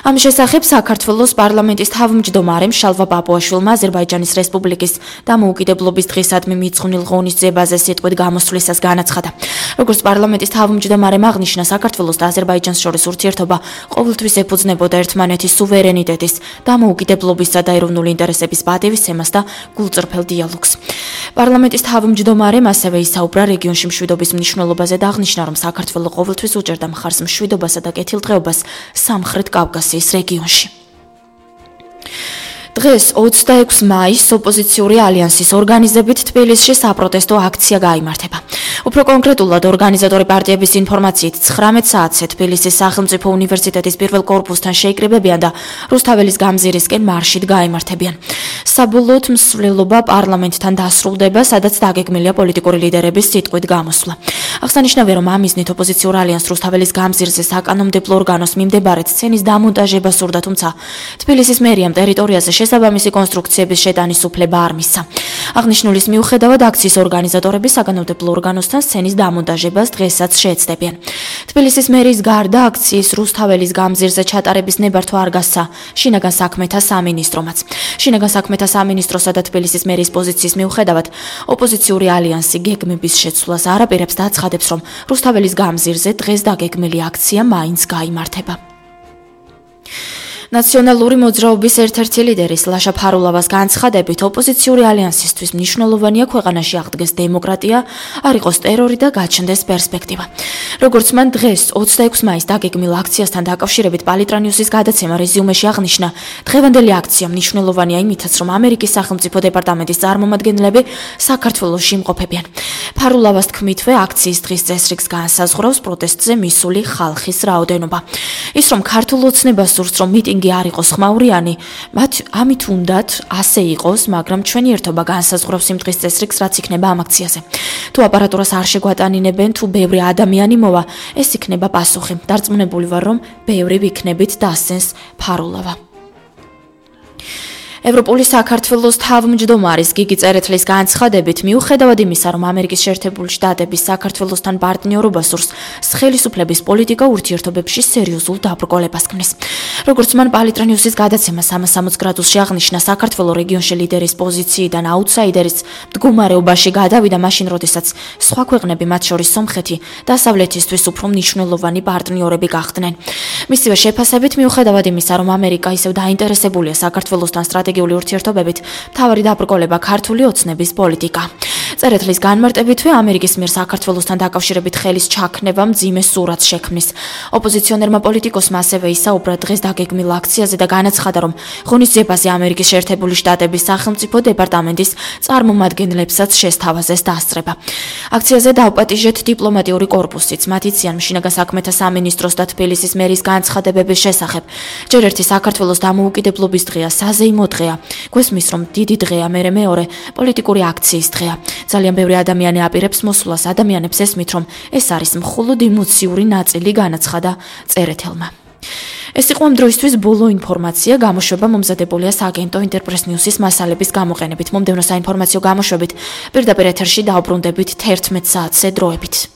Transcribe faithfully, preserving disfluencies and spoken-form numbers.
ამ შესახებ საქართველოს პარლამენტის თავმჯდომარემ შალვა პაპუაშვილმა აზერბაიჯანის რესპუბლიკის დამოუკიდებლობის დღისადმი მიძღვნილ ღონისძიებაზე სიტყვით გამოსვლისას განაცხადა. როგორც პარლამენტის თავმჯდომარემ აღნიშნა, საქართველოს და აზერბაიჯანს შორის ურთიერთობა ყოველთვის ეფუძნებოდა ერთმანეთის სუვერენიტეტის, დამოუკიდებლობისა და ეროვნული ინტერესების პატივისცემას და გულწრფელ დიალოგს. პარლამენტის თავმჯდომარემ ასევე ისაუბრა რეგიონში მშვიდობის მნიშვნელობაზე და აღნიშნა, რომ საქართველო ყოველთვის უჭერდა მხარს მშვიდობასა და კეთილდღეობას სამხრეთ კავკასიის რეგიონში. დღეს ოცდაექვსი მაისს ოპოზიციური ალიანსის ორგანიზებით თბილისში საპროტესტო აქცია გაიმართება. უფრო კონკრეტულად, ორგანიზატორი პარტიების ინფორმაციით ცხრამეტ საათზე თბილისის სახელმწიფო უნივერსიტეტის პირველ კორპუსთან შეიკრიბებიან და რუსთაველის გამზირისკენ მარშით გაიმართებიან. საბოლოოდ მსვლელობა პარლამენტთან დასრულდება, სადაც დაგეგმილია პოლიტიკური ლიდერების სიტყვით გამოსვლა. აღსანიშნავია, რომ ამ მიზნით ოპოზიციურ ალიანსს რუსთაველის გამზირზე საკანონმდებლო ორგანოს მიმდებარედ სცენის დამონტაჟება სურდა, თუმცა თბილისის მერიამ ტერიტორიაზე შესაბამისი კონსტრუქციების შეტანის უფლება არ მისცა. აღნიშნულის მიუხედავად, აქციის ორგანიზატორები საკანონმდებლო ორგანოსთან სცენის დამონტაჟებას დღესაც შეეცდებიან. თბილისის მერის გარდა აქციის რუსთაველის გამზირზე ჩატარების ნებართვა არ გასცა შინაგან საქმეთა სამინისტრომაც. შინაგან საქმეთა სამინისტროსა და თბილისის მერის პოზიციის მიუხედავად, ოპოზიციური ალიანსი გეგმების შეცვლას არ აპირებს და აცხადებს, რომ რუსთაველის გამზირზე დღეს დაგეგმილი აქცია მაინც გაიმართება. ნაციონალური მოძრაობის ერთ-ერთი ლიდერის ლაშა ფარულავას განცხადებით, ოპოზიციური ალიანსისთვის მნიშვნელოვანია ქვეყანაში აღდგეს დემოკრატია, არ იყოს ტერორი და გაჩნდეს პერსპექტივა. როგორც მან დღეს ოცდაექვსი მაისს დაგეგმილ აქციასთან დაკავშირებით პალიტრანიუსის გადაცემა რეზიუმეში აღნიშნა, დღევანდელი აქცია მნიშვნელოვანია იმითაც, რომ ამერიკის სახელმწიფო დეპარტამენტის წარმომადგენლები საქართველოში იმყოფებიან. ფარულავას თქმითვე, აქციის დღის წესრიგს განსაზღვრავს პროტესტზე მისული ხალხის რაოდენობა. ის რომ ქართულ ოცნებას სურს, რომ მიტინგი არ იყოს ხმაურიანი, მათ ამით უნდათ ასე იყოს, მაგრამ ჩვენი ერთობა განსაზღვრავს იმ დღის წესრიგს, რაც იქნება ამ აქციაზე. თუ აპარატურას არ შეგვატანინებენ, თუ ბევრი ადამიანი მოვა, ეს იქნება პასუხი. დარწმუნებული ვარ, რომ ბევრი ვიქნებით, დასცენს ფარულავა. ევროპული საქართველოს თავმჯდომარის გიგი წერეთლის განცხადებით, მიუხედავად იმისა, რომ ამერიკის შეერთებული შტატების საქართველოსთან პარტნიორობას სურს, ხელისუფლების პოლიტიკა ურთიერთობებში სერიოზულ დაბრკოლებას ქმნის. როგორც მან პალიტრანიუსის გადაცემას სამასამოც გრადუსში აღნიშნა, საქართველო რეგიონში ლიდერის პოზიციიდან აუთსაიდერის მდგომარეობაში გადავიდა მაშინ, როდესაც სხვა ქვეყნები, მათ შორის სომხეთი, დასავლეთისთვის უფრო მნიშვნელოვანი პარტნიორები გახდნენ. მისივე შეფასებით, მიუხედავად იმისა, რომ ამერიკა ისევ დაინტერესებულია საქართველოსთან სტრატეგიულ ურთიერთობებით, მთავარი დაბრკოლება ქართული ოცნების პოლიტიკა. წერეთლის განმარტებითვე, ამერიკის მიერ საქართველოსთან დაკავშირებით ხელის ჩაქნება მძიმე სურათს შექმნის. ოპოზიციონერმა პოლიტიკოსმა ასევე ისაუბრა დღეს დაგეგმილ აქციაზე და განაცხადა, რომ ღონისძიებაზე ამერიკის შეერთებული შტატების სახელმწიფო დეპარტამენტის წარმომადგენლებსაც შესთავაზეს დასწრება. აქციაზე დავპატიჟეთ დიპლომატიური კორპუსიც, მათ იციან შინაგან საქმეთა სამინისტროს და თბილისის მერის განცხადებების შესახებ. ჯერ ერთი საქართველოს დამოუკიდებლობის დღეა, საზეიმო დღეა. გვესმის, რომ დიდი დღეა, მერე მეორე პოლიტიკური აქციის დღეა. ძალიან ბევრი ადამიანი აპირებს მოსვლას, ადამიანებს ესმით, რომ ეს არის მხოლოდ ემოციური ნაწილი, განაცხადა წერეთელმა. ეს იყო ამ დროისთვის ბოლო ინფორმაცია, გამოშვება მომზადებულია სააგენტო ინტერპრეს ნიუსის მასალების გამოყენებით. მომდევნო საინფორმაციო გამოშვებით პირდაპირ ეთერში დაუბრუნდებით თერთმეტ საათზე დროებით.